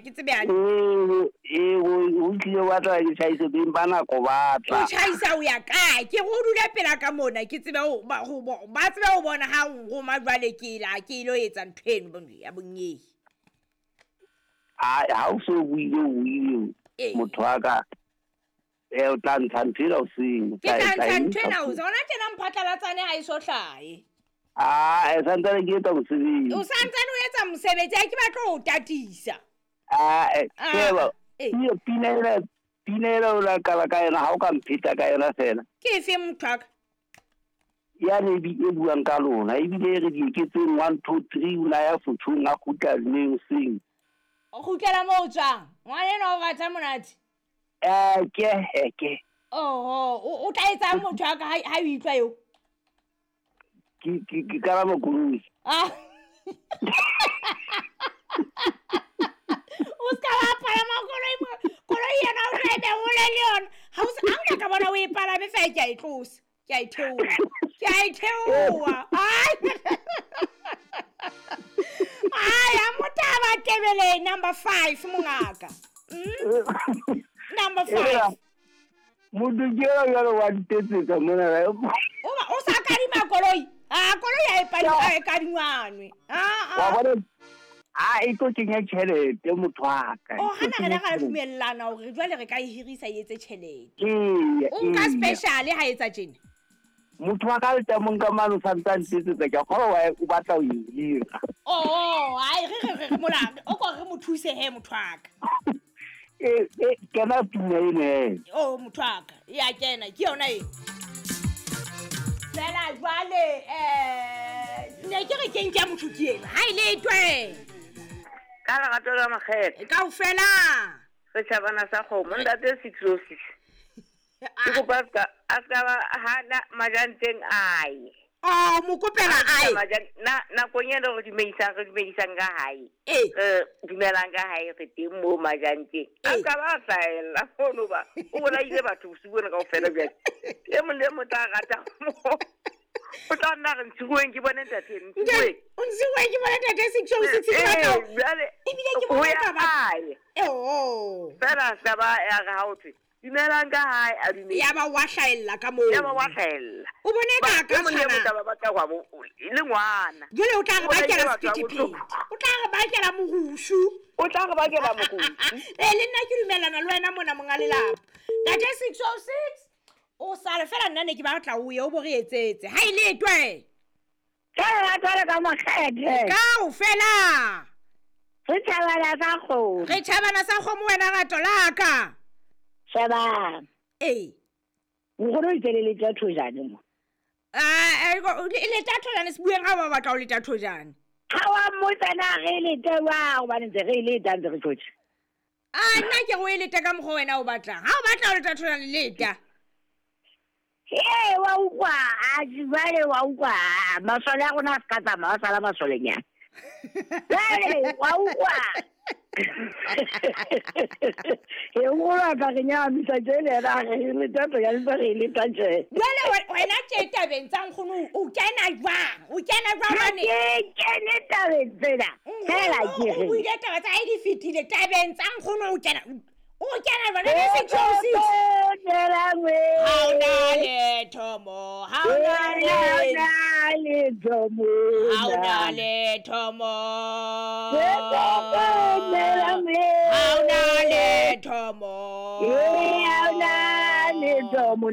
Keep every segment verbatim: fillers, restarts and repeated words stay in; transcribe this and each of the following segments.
ke tsebe hantle. Ee, ee, o tlile wa tla ke tjhaise beng ba nako ba tla. O tjhaisa o ya kae? Ke re o dule pela ka mona, ke tsebe ho ba ho ba tsebe ho bona ha o roma jwale ke la ke ilo etsa ntho eno ya bonyehi. Ha ha o so buile o buile motho wa ka. E o tla ntsha ntho ena hoseng. Ke tla ntsha ntho ena hoseng. Hona tjena mphatlalatsane ha e so hlahe. Ah, e santsane ke etsa mosebetsi. O santsane o etsa mosebetsi, ha ke batle ho tatisa. Ah, sheba. Pina ena, pina ena o la qala ka yona, ha o ka mpheta ka yona fela. Ke efe motho wa ka? Yane e buang ka lona, ebile e re dieketseng one two three o la ya fothong a kgutla neng seng. O kgutlela moo o tswang? Ngwana enwa o rata monate. Eh, ke ke. Oh, o tla etsang motho wa ka ha o utlwa eo? Ke ke ke kalama koloi. Ah. O ska wa palama koloi, koloi yena o tla be hole le yona. Ha o ha o ka bona o e palame fa ke a e tlosa. Ke a e theoha. Ke a e theoha. Ai. Ai, a motaba tebele number five mongaka. Mm? Number five. Motho ke ena jwale wa ntetsetsa mona. O ba o sa kadima koloi. Ah, koloi ha e padi ha e kadingwanwe. Ah ah. Wa bona a e tlo kenya tjhelete motho wa ka. O hana re le ra dumellana hore jwale re ka e hirisa e etse tjhelete. Ee. O nka special ha etsa tjena. Motho wa ka le tamong ka mano sa ntetsetsa ke kgolwa wa o batla ho e hira. Oh, ai re re re mola o ko re mo thuse he motho wa ka. E e kena pina ene. Oh motho wa ka, ya kena ke yona e. Fela jwale eh ne ke re ke nke motho ke ena. Ha ile twe. Ka lerato la makgethe. Kaofela. Re tjhabana sa kgomo ntate six oh six. Ke kopa ska a ska ba ha na majanteng ai. Oh mo kopela ai. Na nakong ena re dumedisang re dumedisang ka hae. Eh dumelang ka hae re teng mo majanteng. A ska ba hlaella mono ba. O bolaile batho bosiu bona kaofela jwale. E mong le mong tla rata mo. O tla nna re ntshuweng ke bone ntate ntshuweng. O ntshuweng ke bone ntate six oh six ke batla. Jwale ebile ke bona ka ba. Eh oh. Fela ska ba ya re ha o thwe. Dumelang ka hae a dumela. Ya ba wa hlaella ka moo. Ya ba wa hlaella. O bone ka ka tshwana. Mo taba ba tla hwa bo le ngwana. Jwale o tla re bakela sephethephethe. O tla re bakela morusu. O tla re bakela morusu. Eh le nna ke dumellana le wena mona monga lelapa. Ntate six oh six o sale fela nna ne ke batla o ye o bo re etsetse. Ha ile twe. Ka lerato la ka makgethe. Kaofela. Re tjhabana sa kgomo. Re tjhabana sa kgomo wena rato la ka. Sheba. Eh. Nkgono o itse le leta thojane mo. Ah, le leta thojane se bueng ha ba batla o leta thojane. Ha wa mmotsa na re lete wa hobane ntse re leta ntse re tjotje. Ah, nna ke go e leta ka mokgwa wena o batlang. Ha o batla o leta thojane leta. Eh, wa utlwa, a jwale wa utlwa. Masole a rona a ska tsamaya, a sala masolenyana. Jwale wa utlwa. E nkgono ka re nyahamisa tje le yena a re leta thojane ntse re leta tje. Jwale wena tje tabeng tsa nkgono o kena jwang? O kena jwang Ha hobane ke kene tabeng tsena. Fela ke o re. buile taba tsa hae di fetile tabeng tsa nkgono o kena o kena jwang? Le six oh six. Ha ona letho mo, ha ona letho. Ha ona letho mo. Ha ona letho mo.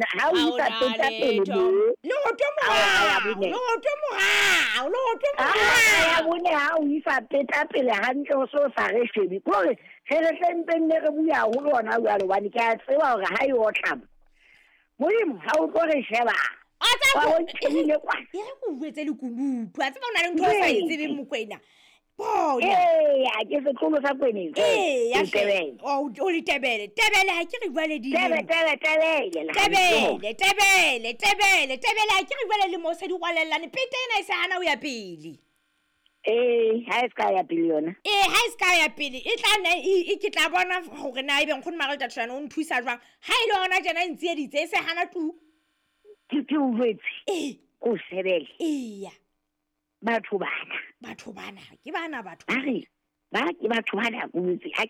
Ha o isa peta pele mo. Leoto morao, leoto morao, leoto Ah, ya morao. bone ha o isa peta pele hantle o so sa re shebe. Kore re re tle mpe nne re bua haholo hona jwale hobane ke a tseba hore ha e otla. Modimo ha o tlo re sheba. A tsa Wa ko o ntshebile kwana. E re ko jwetse lekunutu. A tseba o na le ntho o sa e tsebeng Mokwena. Bona. Eya, ke setlolo sa Kweneng. Ee, ya hle. Tebele. Oh, o le Tebele. Tebele ha ke re jwale Tebe, dilemo. tebe, tebele. Tebele, tebele, tebele, tebele ha ke re jwale lemo se di rwalellane. Pete ena e se hana ho ya pele. Ee, ha e ska ya pele yona. Ee, ha e ska ya pele. E tla nna e ke tla bona hore na ebe nkgono Margaret Thojane o nthusa jwang. Ha e le hona tjena e ntsieditse e se hana tu. Ke ke o jwetse. Ee. Ko shebele. Eya. Batho bana. Batho bana, ke bana batho. Ba re, ba ke batho bana ko jwetse. Ha ke